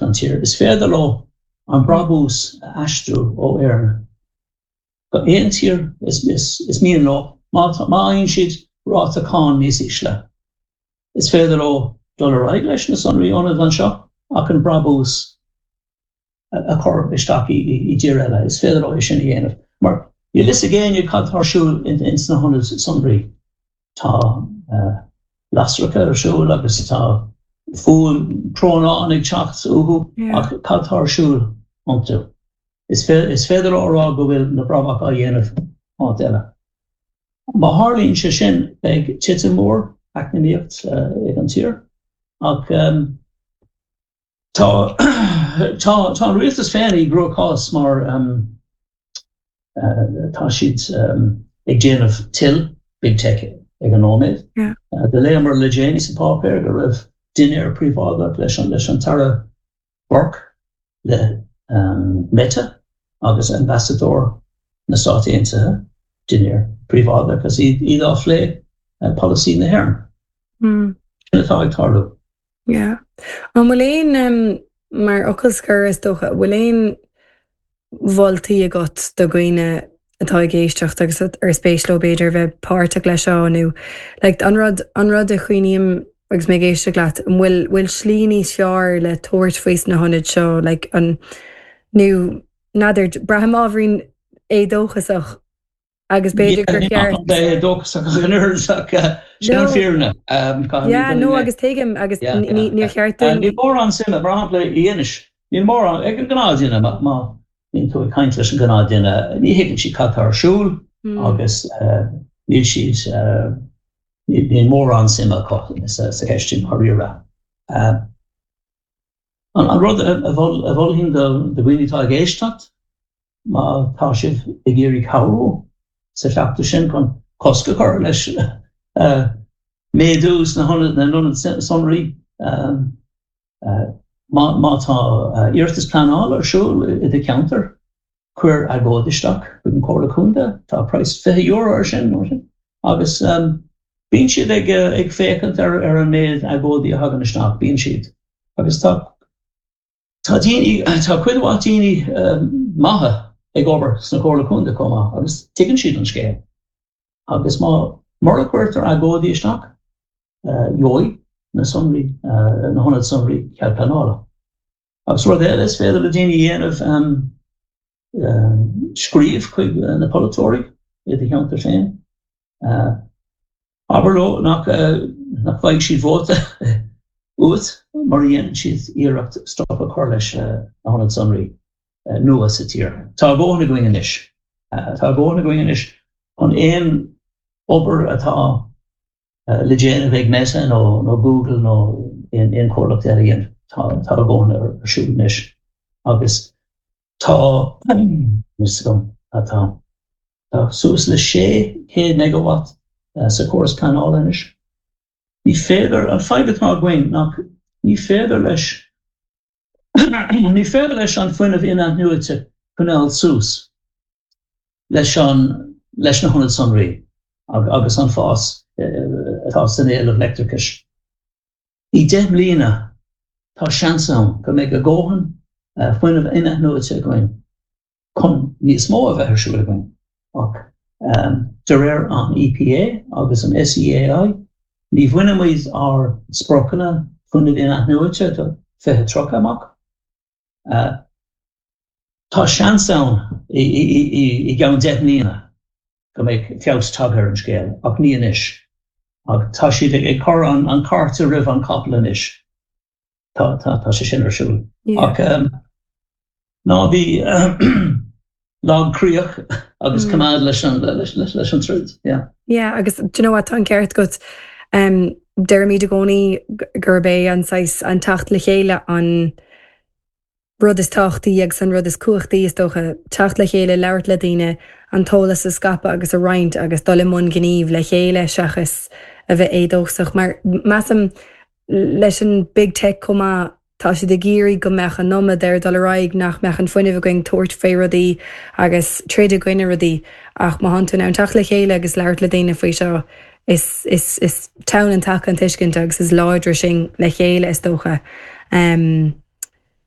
isteach don tír, is féidir leo an brabús a aistriú ó Éirinn go aon tír is mian leo má fhaigheann siad ráta cáin níos ísle. Is féidir leo dul ar aghaidh leis na sonraí ionaid anseo ach an brabús a chur isteach i dtír eile. Is féidir leo é sin a dhéanamh mar níl fhios ag éinne cad tá ar siúl ins na hionaid sonraí. Tá lasracha ar siúl agus tá fuaim crónán ag teacht uathu ach cad tá ar siúl iontu? Is féidir leo a rá go bhfuil na brabach á dhéanamh áit eile. Má tharlaíonn sé sin, beidh titim mór eacnamaíocht ag an tír. Ach tá tá tá an rialtas féin i gcruachás mar tá siad ag déanamh toil Big Tech ag an nóiméad. Do léamar le déanaí sa pháipéar go raibh dinnéar príobháideach leis an leis an tAire Burke le Meta agus Ambasadóir na Stát Aontaithe, dinnéar príobháideach agus iad á phlé polasaí na hÉireann. Sin atá ag tarlú. Yeah. An bhfuil aon, mar fhocal scoir is dócha, an bhfuil aon mholtaí agat do dhaoine atá ag éisteacht agus ar spéis leo b'fhéidir bheith páirteach leis seo nó like an rud an rud a chuimhním agus mé ag éisteacht leat an bhfuil bhfuil slí níos fearr le tabhairt faoi sna hionaid seo like an nó n'fheadar braithim ábhairín éadóchasach Agus b'fhéidir gur cheart. Ní bheith éadóchasach ach an oiread ach sin an fírinne. Yeah, no agus tuigim agus níor cheart dúinn. Níl mórán suime, mar shampla i Inis, níl mórán ag an ghnáthdhuine, má bhíonn tú ag caint leis an ghnáthdhuine, ní thuigeann siad cad tá ar siúl agus níl siad, níl mórán suime acu sa cheist sin dháiríre. An rud a mholfainn do dhaoine atá ag éisteacht, Má tá sibh ag iarraidh cabhrú sa chleachtadh sin chun cosc a chur leis méadú sna hionaid sonraí, má tá iarratas pleanála ar siúl i do cheantar, cuir agóid isteach chuig an Chomhairle Contae, tá praghas €20 ar sin, agus bíonn siad ag féachaint ar an méid agóidí a thagann isteach, bíonn siad. Agus tá. Tá daoine, tá cuid mhaith daoine maithe ag obair sna Comhairle Contae chomh maith agus tuigeann siad an scéal. Agus má, mura gcuirtear agóidí isteach, gheobhaidh na sonraí, na hionaid sonraí cead pleanála. Agus rud eile is féidir le daoine a dhéanamh, scríobh chuig na polaiteoirí i do cheantar féin. Abair leo nach bhfaighidh siad vóta uait mura dhéanann siad iarracht stop a chur leis na hionaid sonraí nua sa tír. Tá a dhóthain againn anois. Tá a dhóthain againn anois chun aon obair atá le déanamh ag Meta nó Google nó aon chomhlacht eile a dhéanamh. Tá a dhóthain ar siúl anois agus tá fhios agam atá. Tá suas le 600 megawatt sa chóras pleanála anois. Ní féidir, an fadhb atá againn nach ní féidir leis, ní féidir leis an fuinneamh in-athnuaite coinneáil suas leis an, leis na hionaid sonraí agus an fás atá san éileamh leictreachais. I 10 mbliana tá seans ann go mbeidh a dhóthain fuinneamh in-athnuaite againn chun níos mó a bheith ar siúl againn, ach de réir an EPA agus an SEAI, ní bhainfimid ár spriocanna fuinnimh in-athnuaite do 2030 amach. Tá seans ann i gceann 10 mbliana go mbeidh feabhas tagtha ar an scéal, ach ní anois. Ach tá siad ag cur an cairt roimh an capall anois. Tá, tá, tá sé sin ar siúl. Ach ná bí lagchroíoch agus coimeád leis an, leis an troid, yeah. Yeah, agus do you know what, tá an ceart agat. Deirimid i gcónaí gurb é an saghas, an teacht le chéile an rud is tábhachtaí agus an rud is cumhachtaí is dócha, teacht le chéile, labhairt le daoine, an t-eolas a scaipeadh agus a roinnt agus dul i mbun gnímh le chéile seachas a bheith éadóchasach. Mar measaim leis an Big Tech chomh maith, tá siad ag iarraidh go mbeadh an iomad ar dul ar aghaidh, nach mbeadh an fuinneamh againn tabhairt faoi rudaí agus troid i gcoinne rudaí. Ach má thánn tú in ann teacht le chéile agus labhairt le daoine faoi seo, is, is, is teann an taca an tuiscint agus is láidre sinn le chéile is dócha.